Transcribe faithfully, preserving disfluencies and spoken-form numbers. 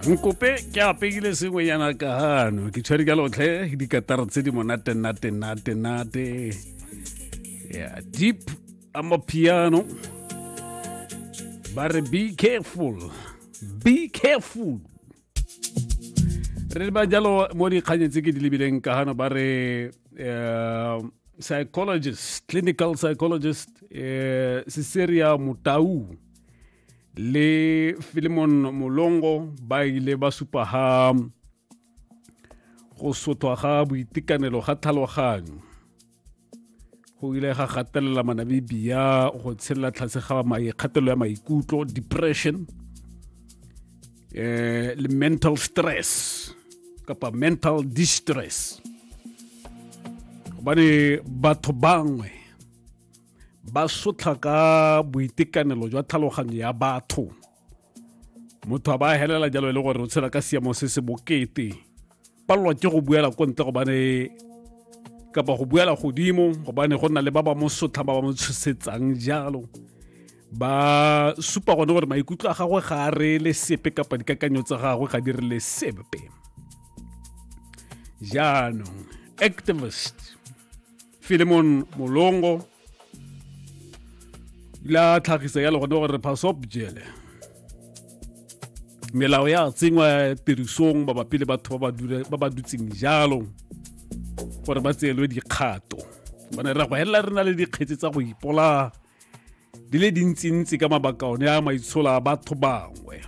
Nkope ke apeile sengwenyana ka hano ke tshwere ka lotlhe dikatara tse di monate nate nate nate yeah deep amapiano ba re be careful be careful re ba jalo mo dikganyeng tse ke di lebileng ka hano ba re eh, psychologist clinical psychologist eh, Cecilia Mutau le Philemon Molongo ba ile ba supa ha go sothwa ga boitekanelo ga tlhaloganyo go ile ga gatelela Manamibia go tshelela tlase ga kgatelelo ya maikutlo depression eh le mental stress kapa mental distress gobane batho bangwe ba sotla ka boitekanelo jwa tlhaloganyo ya batho motho a ba helela jalo e le gore o tshela ka seemo se se bokete palelwa ke go buela ko ntle gobane kapa go buela godimo gobane go nna le ba ba mo sotla ba ba mo tshosetsang jalo ba supa gone gore maikutlo a gagwe ga a reele sepe kapa dikakanyo tsa gagwe ga di rele sepe jaanong activist Philemon Molongo la tlhagisa ya le gone gore pasop jele melao ya tsengwa tirisong mabapi le batho ba ba dutseng jalo gore ba tseelwe dikgato bane re go helela re na le dikgetse tsa go ipolaya di le dintsintsi ka mabaka one a maitsholo a batho bangwe.